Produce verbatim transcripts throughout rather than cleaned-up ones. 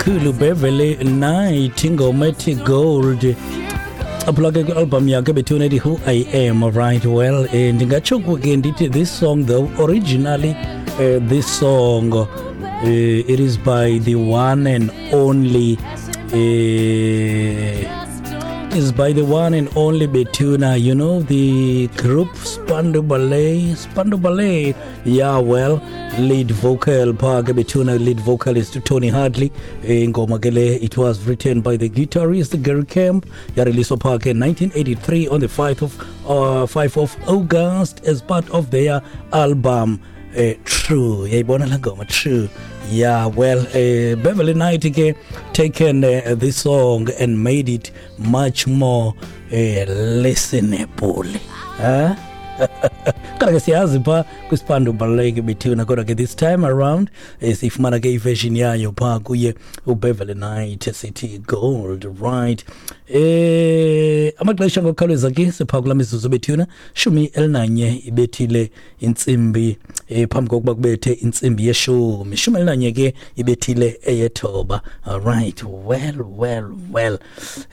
kakhulu Beverley Knight, ingoma ethi Gold. Aphula ke kwi-album yakhe bethuna ethi Who I Am. Right, well, eh, ndingatsho ke ndithi this song though, originally uh, this song uh, it is by the one and only uh, is by the one and only Betuna, you know, the group Spandau Ballet, Spandau Ballet, yeah, well, lead vocal, pha ke Betuna, lead vocalist Tony Hadley, ingoma ke le, it was written by the guitarist Gary Kemp, yareleaswa pha ke nineteen eighty-three on the fifth of, uh, fifth of August as part of their album uh, True. Yayibona la ngoma True. Yeah, well, uh, Beverley Knight ke taken uh, this song and made it much more uh, listenable. Huh? Kodwa ke siyazi pha kwiSpandau Ballet ke bethuna, kodwa ke this time around eh, sifumana ke iversion yayo pha kuye uBeverley Knight sithi Gold. Right, eh amaxesha ngokukhawuleza ke sipha kula mizuzu bethuna shumi elinanye ibethile intsimbi eh, phambi kokuba kubethe intsimbi yeshumi, shumi elinanye ke ibethile eyethoba. All right, well well well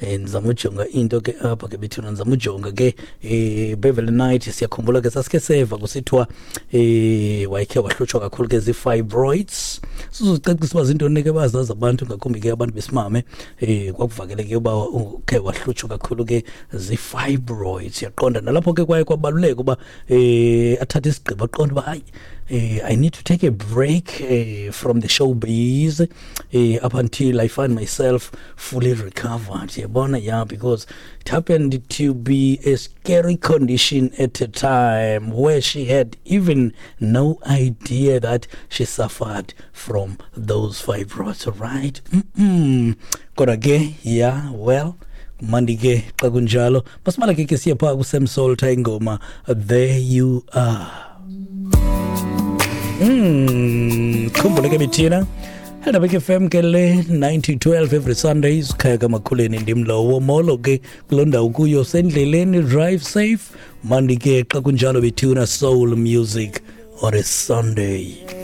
eh, ndizama ujonga into ke apha ke bethuna, ndizama ujonga ke eh, Beverley Knight siyakhumbula ke sasike seva kusithiwa eh wayekhe wahlutshwa kakhulu ke zii-fibroids. Sizocacisa uba zintoni ke bazazi abantu, ngakumbi ke abantu besimame, eh kwakuvakele ke uba ukhe wahlutshwa kakhulu ke zii-fibroids. Yaqonda nalapho ke kwaye kwabaluleka uba eh athathe isigqibo aqonde uba hayi, eh, I need to take a break eh, from the showbiz eh, up until I find myself fully recovered. Yabona, yeah, because it happened to be a scary condition at a time where she had even no idea that she suffered from those fibroids, right? Mm-mm. Kodwa ke, yeah, well, mandi ke xa kunjalo masimala ke ke siye phaa kuSam Salter ingoma There You Are. Mm, khumbule ke bethina Helderberg F M ke le nine to twelve every Sunday sikhaya kamakhuleni ndim lowo molo ke kuloo ndawo kuyo sendleleni, drive safe. Mandi ke xa kunjalo bethuna soul music on a Sunday.